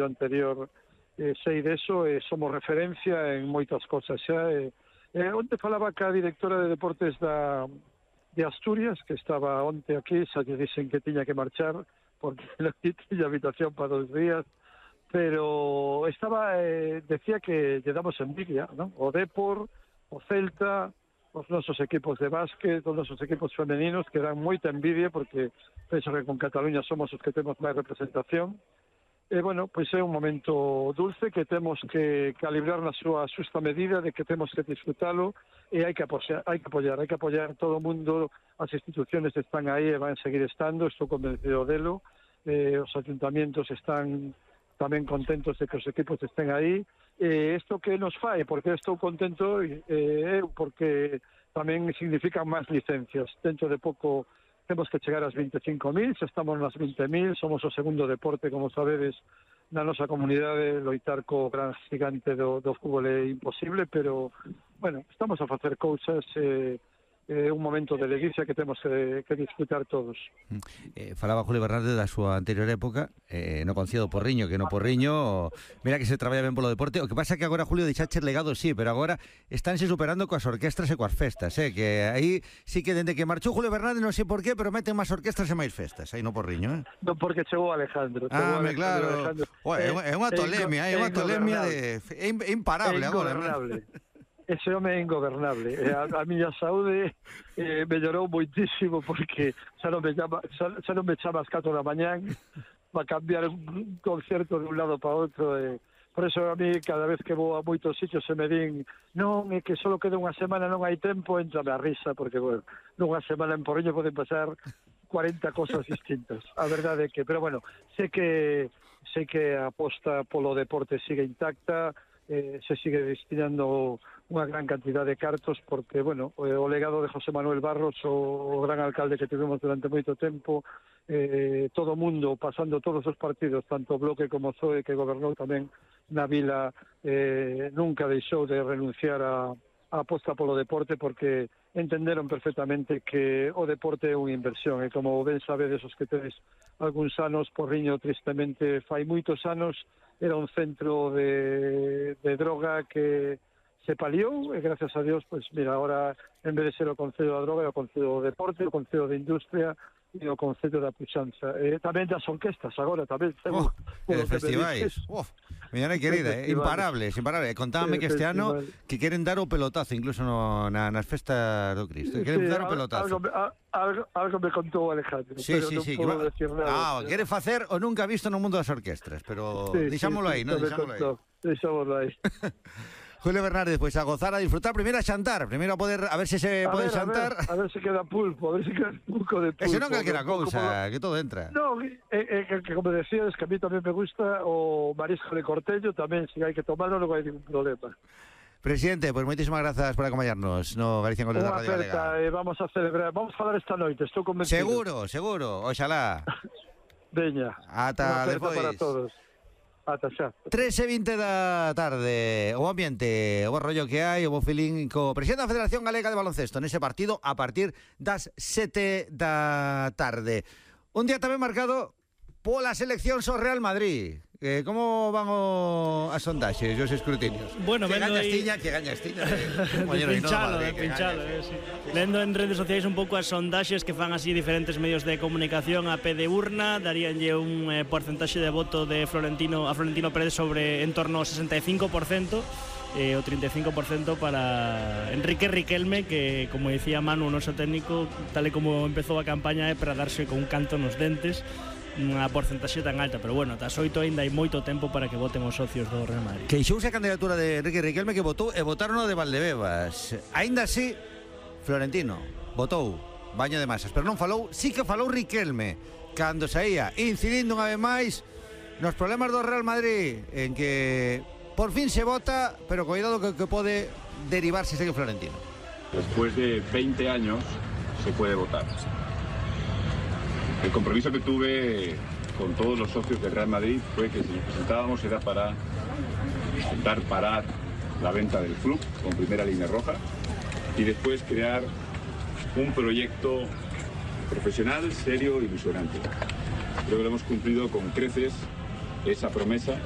anterior sei deso e somos referencia en moitas cosas xa. Onte falaba ca directora de deportes de Asturias, que estaba onte aquí, xa lle dixen que tiña que marchar porque non tiña habitación para 2 días, pero decía que lle damos envidia, non? O Depor, o Celta, os nosos equipos de básquet, os nosos equipos femeninos, que dan moita envidia porque penso que con Cataluña somos os que temos máis representación. E, bueno, pois é un momento dulce que temos que calibrar na súa xusta medida, de que temos que disfrutalo e hai que apoiar todo o mundo. As instituciones están aí e van a seguir estando, estou convencido delo. Os ayuntamientos están tamén contentos de que os equipos estén aí. Isto que nos fai, porque estou contento, porque tamén significan máis licencias. Dentro de pouco temos que chegar ás 25.000, xa estamos nas 20.000, somos o segundo deporte, como sabedes, na nosa comunidade. Loitar co gran gigante do fútbol é imposible, pero, bueno, estamos a facer cousas, un momento de ledicia que temos que disfrutar todos. Falaba Julio Bernardes da súa anterior época, no Concello do Porriño, que no Porriño, mira que se traballa ben polo deporte. O que pasa é que agora, Julio, deixaches legado, sí, pero agora estánse superando coas orquestras e coas festas, que aí sí que dende que marchou Julio Bernardes, non sei por qué, pero meten máis orquestras e máis festas aí no Porriño, Non, porque chegou Alejandro. Claro. É unha tolemia, é imparable agora. Ese home é ingobernable. A miña saúde mellorou moitísimo porque xa non me chama ás 4 da mañán para cambiar un concerto de un lado para outro. Por eso a mí cada vez que vou a moitos sitios se me din non, é que só queda unha semana, non hai tempo, entrame a risa porque, bueno, nunha semana en Porriño poden pasar 40 cosas distintas. A verdade é que, pero bueno, sei que a aposta polo deporte sigue intacta, se sigue destinando unha gran cantidad de cartos porque, bueno, o legado de José Manuel Barros, o gran alcalde que tivemos durante moito tempo, todo o mundo pasando todos os partidos, tanto Bloque como Zoe, que gobernou tamén na vila, nunca deixou de renunciar a aposta polo deporte porque entenderon perfectamente que o deporte é unha inversión e como ben sabedes os que tedes algúns anos, Porriño tristemente fai moitos anos era un centro de droga que se paliou e gracias a Dios, pues mira, ahora en vez de ser o Concello da Droga é o Concello do Deporte, o Concello de Industria e o Concello da Puxanza. Tamén das orquestas agora, tamén. Festivais. Miña querida, imparables. Contábame que este ano que queren dar o pelotazo, incluso nas festas do Cristo. Queren dar o pelotazo. Algo me contou Alejandro, pero non podo decir nada. Quere facer o nunca visto no mundo das orquestras, pero deixámoslo aí, non? Deixámoslo aí. Julio Bernardes, pois a gozar, a disfrutar, primeiro a xantar, primeiro a ver se pode xantar. A ver se queda pulpo, a ver se queda un pouco de pulpo. Ese non calquera cousa, que todo entra. Non, que como decías, que a mí tamén me gusta o marisco de Cortello, tamén, se hai que tomarlo, non hai ningún problema. Presidente, pois moitísimas grazas por acompañarnos no Galicia en Goles da Radio Galega. Vamos a celebrar, vamos a falar esta noite, estou convencido. Seguro, oxalá. Veña. Ata despois. Para todos. Ata xa. 3:20 da tarde. O ambiente, o bo rollo que hai, o bo feeling co presidente da Federación Galega de Baloncesto nese partido a partir das 7 da tarde. Un día tamén marcado pola selección so Real Madrid. Como van as sondaxes e os escrutinios? Bueno, que gañas tiña. Pinchalo. Sí. Lendo en redes sociais un pouco as sondaxes que fan así diferentes medios de comunicación a pé de urna, daríanlle un porcentaxe de voto de Florentino Pérez sobre en torno ao 65%, o 35% para Enrique Riquelme, que, como decía Manu, o noso técnico, tal e como empezou a campaña, é para darse con un canto nos dentes unha porcentaxe tan alta, pero bueno, tas 8 ainda hai moito tempo para que voten os socios do Real Madrid. Queixouse a candidatura de Enrique Riquelme, que votou e votaron o de Valdebebas. Ainda así, Florentino votou baño de masas, pero non falou, sí que falou Riquelme cando saía, incidindo unha vez máis nos problemas do Real Madrid, en que por fin se vota, pero cuidado que pode derivarse segue Florentino. Después de 20 años se puede votar. El compromiso que tuve con todos los socios del Real Madrid fue que si nos presentábamos era para intentar parar la venta del club con primera línea roja y después crear un proyecto profesional, serio y ilusionante. Creo que lo hemos cumplido con creces esa promesa